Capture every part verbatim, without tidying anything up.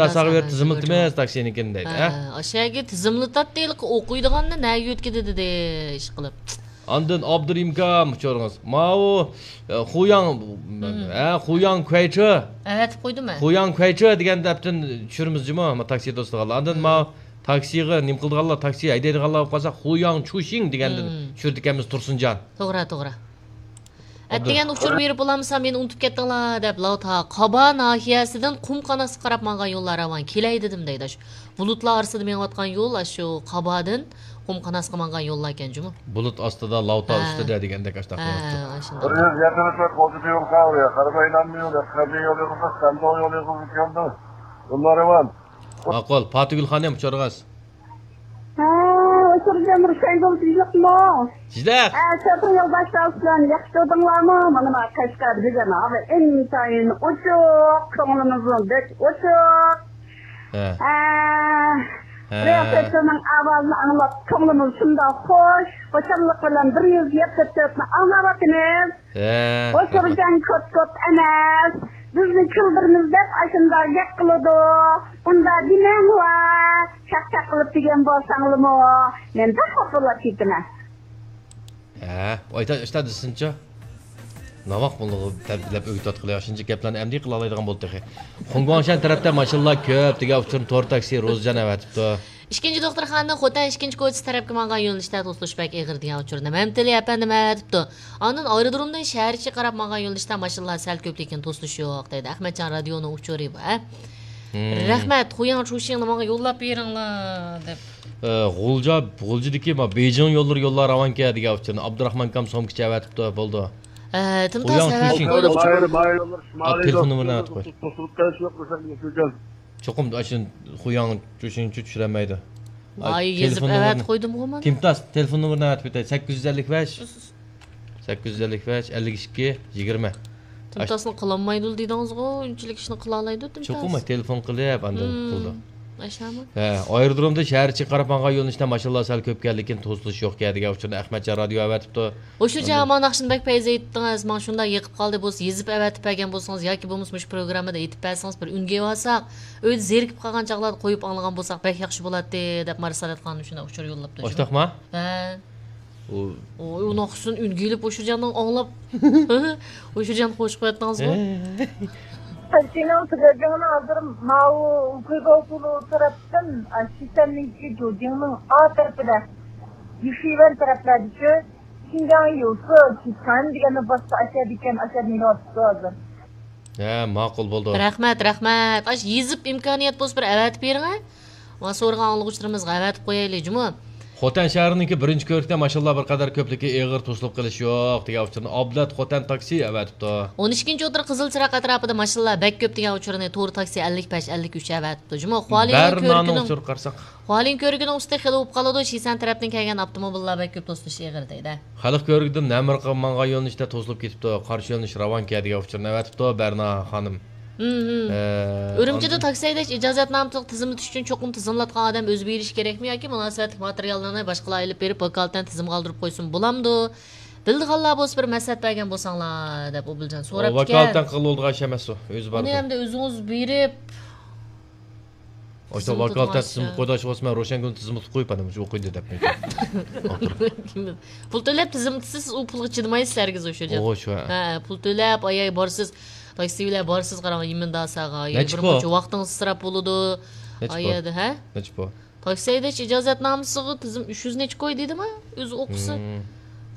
ساغا بېرىپ تىزىملىتىمىز تاكسىنىڭكىنى دەيدۇ، ھە؟ ھە، ئاشۇ يەرگە تىزىملىتاتتى، ھېلىقى ئوقۇيدىغاننى نەگە يۆتكىدى دېدى، ئىشقىلىپ. ئاندىن ئابدۇرېھىم ئاكام ئۇچۇرىڭىز. ماۋۇ، ئە، خۇياڭ، ھە، خۇياڭ كۇەيچې. ئەۋەتىپ قويدۇم مەن. خۇياڭ كۇەيچې دېگەن دەپتىن چۈشۈرىمىز جۇمۇ، ما تاكسى دوستلارغا. ئاندىن ماۋۇ تاكسىغا نېمە قىلىدىغانلار، تاكسى ھەيدەيدىغانلار بولۇپ قالسا، خۇياڭ چۇشىڭ دېگەندىن چۈشۈرىدىكەنمىز تۇرسۇنجان. توغرا، توغرا. ئەتىگەن ئۇچۇر بېرىپ بولامسا، مېنى ئۇنتۇپ كەتتىڭلار دەپ، لاۋتا قابا ناھىيەسىدىن قۇم قاناسقا قاراپ ماڭغان يوللار راۋان، كېلەي دېدىم دەيدۇ. ئاشۇ بۇلۇتلار ئارىسىدا مېڭىۋاتقان يول، ئاشۇ قابادىن قۇم قاناسقا ماڭغان يوللار ئىكەن جۇمۇ. بۇلۇت ئاستىدا، لاۋتا ئۈستىدە دېگەندەك ئاشۇنداق. ھە، ئاشۇنداق. بىر يۈز يەتمىش مەتر قوزۇق يول قاۋۇرۇيا، قەربەيلانما يول، قەبرە يول يىغىلسا، سەندۇ يول يىغىلسا كەلدى. يوللار راۋان. ماقۇل. پاتىگۈل خانىم، ئۇچۇرىڭىز. ھە، ئۇچۇر جەمبىر شايدۇل تىنچلىقمۇ؟ تىنچلىق. ھە، شوپۇر يولداشلار بىلەن ياخشى تۇردۇڭلارمۇ؟ مانا ما قەشقەر بۈگۈن ھاۋا ئىنتايىن ئوچۇق، كۆڭلىمىزمۇ بەك ئوچۇق. ھە. ھە. ھە. رىياسەتچىنىڭ ئاۋازىنى ئاڭلاپ، كۆڭلىمىز شۇنداق خوش، خۇشاللىق بىلەن بىر يۈز يەتمىش تۆتنى ئاڭلاۋاتىمىز. ھە. ئۇچۇرجان كوت-كوت ئەمەس، بىزنى كۈلدۈرىمىز دەپ ئاشۇنداق گەپ قىلىدۇ. ئۇنداق دېمەڭلار، چاقچاق قىلىپ دېگەن بولساڭلىمۇ، مەن بەك خاپا بولۇپ كېتىمەن. ھە، ئايتا ئىشتا دېسىنچە. ناۋاق بۇنىڭغا تەربىيەلەپ ئۆگىتىۋاتقىلى، شۇنچە گەپلەرنى ئەمدى قىلالايدىغان بولدى تېخى. خۇڭگۇاڭشەن تەرەپتە ماشىنىلار كۆپ دېگەن ئۇچۇرنى تور تاكسى روزىجان ئەۋەتىپتۇ. ئىككىنچى دوختۇرخانىنىڭ خوتەن ئىككىنچى كوچىسى تەرەپكە ماڭغان يۆنىلىشتە توسۇلۇش بەك ئېغىر دېگەن ئۇچۇرنى مەمتىلى ئەپەندىم ئەۋەتىپتۇ. ئاندىن ئايرودرومدىن شەھەرچىگە قاراپ ماڭغان يۆنىلىشتە ماشىنىلار سەل كۆپ، لېكىن توسۇلۇش يوق دەيدۇ. ئەخمەتجان رادىيونىڭ ئۇچۇرى بۇ، ھە؟ رەھمەت، خۇياڭ چۇشىڭنى ماڭا يوللاپ بېرىڭلار دەپ. ئە، غۇلجا، غۇلجىدىكى ما بېيجىڭ يوللىرى يوللار راۋانكەن دېگەن ئۇچۇرنى ئابدۇراخمان ئاكام سومكىچە ئەۋەتىپتۇ، بولدۇ. ئە، تىمتاس خۇياڭ ئەۋەت چۈشۈڭ. قويدۇم. ئا، تېلېفون نومۇرىنى ئەۋەتىپ قوي. چوقۇم ئاشۇ خۇياڭ چۈشۈڭچۇ چۈشۈرەلمەيدۇ. ئاي، يېزىپ ئەۋەتىپ قويدۇمغۇ مانا. تىمتاس تېلېفون نومۇرىنى ئەۋەتىپ ئۆتەي. سەككىز يۈز ئەللىك بەش، سەككىز يۈز ئەللىك بەش، ئەللىك ئىككى، يىگىرمە. تىمتاسنى قىلالمايدۇ دېدىڭىزغۇ، ئۇنچىلىك ئىشنى قىلالايدۇ تىمتاس. چوقۇم تېلېفون قىلىپ ئاندىن قىلىدۇ. ئاشۇمۇ؟ ھە، ئايرودرومدا شەھەرچىگە قاراپ ماڭغان يۆنىلىشتە ماشىنىلار سەل كۆپكەن، لېكىن توسۇلۇش يوقكەن دېگەن ئۇچۇرنى ئەخمەتجان رادىيو ئەۋەتىپتۇ. ئۇچۇرجان، ئاندىن مانا ناخشىنى بەك پەيز ئېيتتىڭىز، ماڭا شۇنداق يېقىپ قالدى، بولسا يېزىپ ئەۋەتىپ بەرگەن بولسىڭىز ياكى بولمىسا مۇشۇ پروگراممىدا ئېيتىپ بەرسىڭىز، بىر ئۈنگە ئېلىۋالساق، ئۆيدە زېرىكىپ قالغان چاغلاردا قويۇپ ئاڭلىغان بولساق بەك ياخشى بولاتتى دەپ مارسالەت خانىم شۇنداق ئۇچۇر يوللاپتۇ. ئاشۇنداقما؟ ھە. ئۇ ئۇ ناخشىسىنى ئۈنگە ئېلىپ ئۇچۇرجاننىڭ ئاڭلاپ، ئۇچۇرجان خوش قوياتتىڭىزغۇ؟ ھە. تاكسىنىڭ تۈگەلگىنىنى ھازىر ماۋۇ گۇيباۋتۇلۇ تەرەپتىن، ئا، شىسەننىڭكى جۇجىڭنىڭ ئا تەرىپىدە، يۈشۈيۋەن تەرەپلەردىچۇ، شىنجاڭ يۇسۇ، شىسەن دېگەننى باسسا ئاشەدىكەن، ئاشەدە مېلىۋاتىپتۇ ھازىر. ھە، ماقۇل بولدى. رەھمەت، رەھمەت. ئاش يېزىپ ئىمكانىيەت بولسا بىر ئەۋەتىپ بېرىڭە. مانا سورىغان ئاڭلىغۇچىلىرىمىزغا ئەۋەتىپ قويايلى جۇمۇ. خوتەن شەھىرىنىڭكى بىرىنچى كۆۋرۈكتە ماشىنىلار بىر قەدەر كۆپلۈكى ئېغىر توسۇلۇپ قېلىش يوق دېگەن ئۇچۇرنى ئابلەت خوتەن تاكسى ئەۋەتىپتۇ. ئون ئىككىنچى ئوتتۇرا قىزىل چىراغ ئەتراپىدا ماشىنىلار بەك كۆپ دېگەن ئۇچۇرنى تور تاكسى ئەللىك بەش، ئەللىك ئۈچ ئەۋەتىپتۇ جۇمۇ. خۇالىيىن بەرنانىڭ كۆۋرۈكىنىڭ ئۇچۇرىغا قارىساق. خۇالىيىن كۆۋرۈكىنىڭ ئۈستى خېلى ئۇۋۇپ قالىدۇ، شىسەن تەرەپتىن كەلگەن ئاپتوموبىللار بەك كۆپ توسۇلۇش ئېغىر دەيدۇ. خەلق كۆۋرۈكىدىن نەمرىققە ماڭغان يۆنىلىشتە توسۇلۇپ كېتىپتۇ. قارشى يۆنىلىش راۋانكەن دېگەن ئۇچۇرنى ئەۋەتىپتۇ بەرنا خانىم. ھىم، ھىم. ئە، ئۈرۈمچىدە ئاندىن تاكسى ھەيدەش ئىجازەتنامىسىغا تىزىملىتىش ئۈچۈن چوقۇم تىزىملاتقان ئادەم ئۆزى بېرىشى كېرەكمۇ ياكى مۇناسىۋەتلىك ماتېرىياللارنى باشقىلار ئېلىپ بېرىپ ۋاكالىتەن تىزىمغا ئالدۇرۇپ قويسىمۇ بولامدۇ؟ بىلىدىغانلار بولسا بىر مەسلىھەت بەرگەن بولساڭلار دەپ ئوبۇلجان سوراپتىكەن. ۋاكالىتەن قىلىدىغان ئىش ئەمەس ئۇ. ئۆزى بارىدۇ. ئۇنى ئەمدى ئۆزىڭىز بېرىپ ئاشۇنداق ۋاكالىتەن تىزىملىتىپ قويىدىغان ئىش بولسا مەن روشەنگۈلنى تىزىملىتىپ قويۇپ ئاندىن مۇشۇ ئوقۇيدۇ دەپ. پۇل تۆلەپ تىزىملىتىسىز، سىز ئۇ پۇلغا چىدىمايسىز ھەرگىز ئوشۇرجان. ئوغۇ شۇ، ھە. ھە، پۇل تۆلەپ ئاياي بارسىز، تاكسى بىلەن بارسىز، قاراڭ يېمىن داساغا. نەچچە بىر پۇل؟ مۇنچە ۋاقتىڭىز ئىسراپ بولىدۇ. نەچچە پۇل؟ ئايادا، ھە؟ نەچچە پۇل؟ تاكسى ھەيدەش ئىجازەتنامىسىغا تىزىم ئۈچ يۈز نەچچە كوي دېدىما؟ ئۆزى ئوقۇسا. ھىم.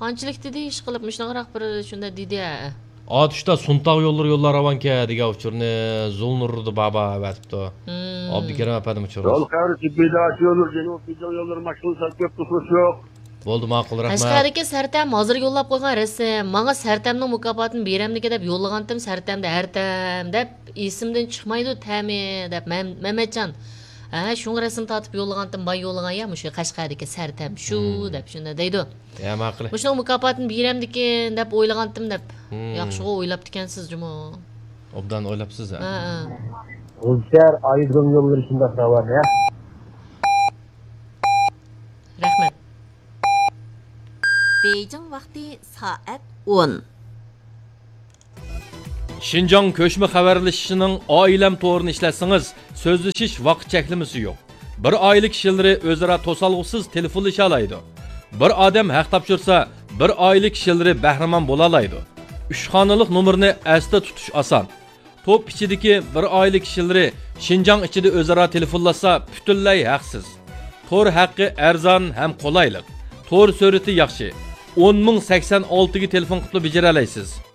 قانچىلىك دېدى، ئىشقىلىپ مۇشۇنداقراق بىر شۇنداق دېدى، ھە. ئاتۇشتا سۇنتاغ يوللىرى يوللار راۋانكەن دېگەن ئۇچۇرنى زۇلنۇردا بابا ئەۋەتىپتۇ. ھىم. ئابدۇكېرىم ئەپەندىم ئۇچۇرى. يول خەۋىرى تىببىي داشى يوللىرى جەنۇبىي بېيجىڭ يوللىرى ماشىنا سەل كۆپ توسۇلۇش يوق. بولدى، ماقۇل، رەھمەت. قەشقەردىكى سەرتەم ھازىر يوللاپ قويغان رەسىم. ماڭا سەرتەمنىڭ مۇكاپاتىنى بېرەمدىكى دەپ يوللىغانتىم، سەرتەمدە ھەرتەم دەپ ئېسىمدىن چىقمايدۇ تەمى دەپ مەم-، مەمەتجان. ھە، شۇڭا رەسىم تارتىپ يوللىغانتىم، باي يوللىغان يا مۇشۇ قەشقەردىكى سەرتەم شۇ دەپ شۇنداق دەيدۇ. يا، ماقۇل. مۇشۇنىڭ مۇكاپاتىنى بېرەمدىكىن دەپ ئويلىغانتىم دەپ. ياخشىغۇ ئويلاپتىكەنسىز جۇمۇ. ئوبدان ئويلاپسىز، ھە؟ ھە، ھە. غۇلجا شەھەر ئايرودروم يوللىرى شۇنداق راۋان، ھە؟ رەھمەت. بېيجىڭ ۋاقتى سائەت ئون. شىنجاڭ كۆچمە خەۋەرلىشىشىنىڭ ئائىلەم تورىنى ئىشلەتسىڭىز، سۆزلىشىش ۋاقىت چەكلىمىسى يوق. بىر ئائىلە كىشىلىرى ئۆزئارا توسالغۇسىز تېلېفونلىشالايدۇ. بىر ئادەم ھەق تاپشۇرسا، بىر ئائىلە كىشىلىرى بەھرىمەن بولالايدۇ. ئۈچ خانىلىق نومۇرنى ئەستە تۇتۇش ئاسان. توپ ئىچىدىكى بىر ئائىلە كىشىلىرى شىنجاڭ ئىچىدە ئۆزئارا تېلېفونلاشسا، پۈتۈنلەي ھەقسىز. تور ھەققى ئەرزان ھەم قولايلىق. تور سۈرئىتى ياخشى. ئون مىڭ سەكسەن ئالتىگە تېلېفون قىلىپلا بېجىرەلەيسىز.